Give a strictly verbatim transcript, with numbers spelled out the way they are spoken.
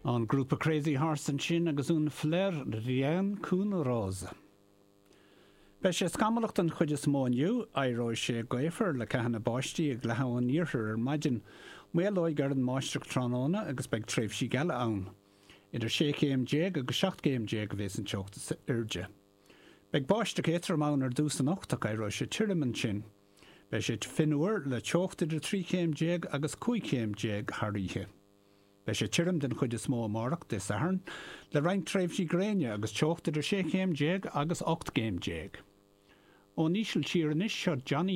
An grúpa Crazy Horse ansin agus Une fleur rien qu'une rose. Beidh sé scamallach den chuid is mó inniu, éireoidh sé gaofar le ceathanna báistí ag leathadh ón iarthar ar maidin, maolóidh ar an mbáisteach tráthnóna agus beidh tréimhsí geala ann. Idir sé chéim déag agus seacht gcéim déag a bheas an teocht is airde. Beidh báisteach éadrom ann ar dtús anocht ach éireoidh sé tirim ansin. Beidh sé fionnuar le teocht idir trí chéim déag agus cúig chéim déag thar oíche. Beidh sé tirim den chuid is mó amárach Dé Sathairn, le roinnt tréimhsí gréine agus teocht idir sé chéim déag agus ocht gcéim déag. Ón Ísiltír anois seo Johnny